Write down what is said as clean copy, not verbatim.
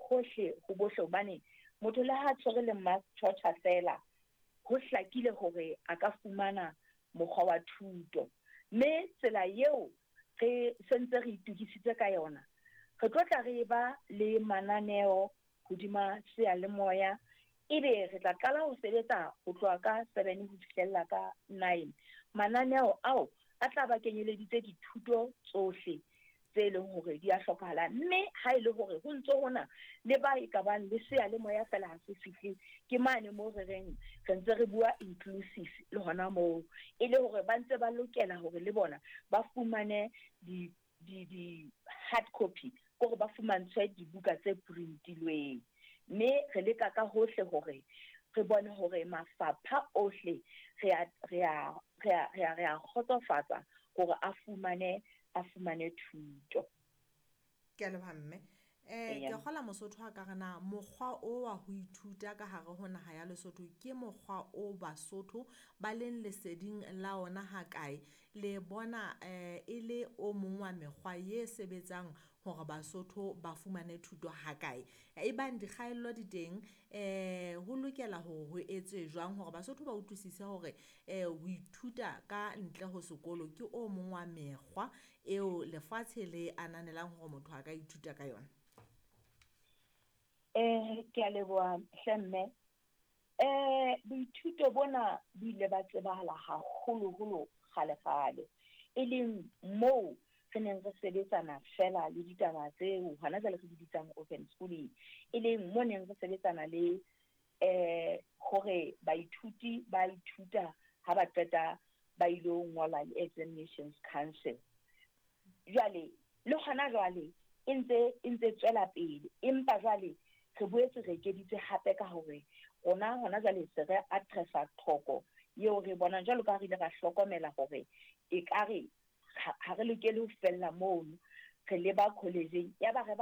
hohle ho bohle hobane motho le ha tshwere le mass torture fela, ho hlakile hore a ka fumana mokgwa wa thuto. Mme tsela eo re sentse re itokisitse ka yona, re tlo tla re ba le mananeo hodima seyalemoya, ebe re tla qala ho sebetsa ho tloha ka 7 ho fihlella ka 9. Mananeo ao a tla ba kenyeleditse dithuto tsohle tse leng hore di a hlokahala, mme ha e le hore ho ntso hona le ba e ka bang le seyalemoya fela ha se fihle, ke mane moo re reng re ntse re bua inclusive le hona moo, e le hore ba ntse ba lokela hore le bona ba fumane di hard copy, kore ba fumantshwe dibuka tse printilweng. Mme re leka ka hohle hore re bone hore mafapha ohle re a kgotsofatsa hore a fumane thuto. Ke a leboha, mme. Ke kgola Mosotho a ka re na mokgwa o wa ho ithuta ka hare ho naha ya Lesotho ke mokgwa o Basotho ba leng leseding la ona hakae? Le bona e le o mong wa mekgwa ye sebetsang hore Basotho ba fumane thuto hakae? E bang dikgaello di teng, ho lokela hore ho etswe jwang hore Basotho ba utlwisise hore ho ithuta ka ntle ho sekolo ke o mong wa mekgwa eo lefatshe le ananelang hore motho a ka ithuta ka yona? Ke a leboha hle, mme. Boithuto bona bo ile ba tsebahala haholoholo kgale kgale, e leng moo re neng re sebetsana fela le ditaba tseo hona jwale re di bitsang open schooling, e leng mo neng re sebetsana le hore baithuti ba ithuta, ha ba qeta ba ilo ngola le Examinations Council. Jwale le hona jwale e ntse tswela pele, empa jwale re boetse re ekeditse hape ka hore rona hona jwale se re addressa tlhoko eo re bonang, jwalo ka ha re ile ra hlokomela hore ekare ha re lokele ho fella mono, re leba college-eng, ya ba re.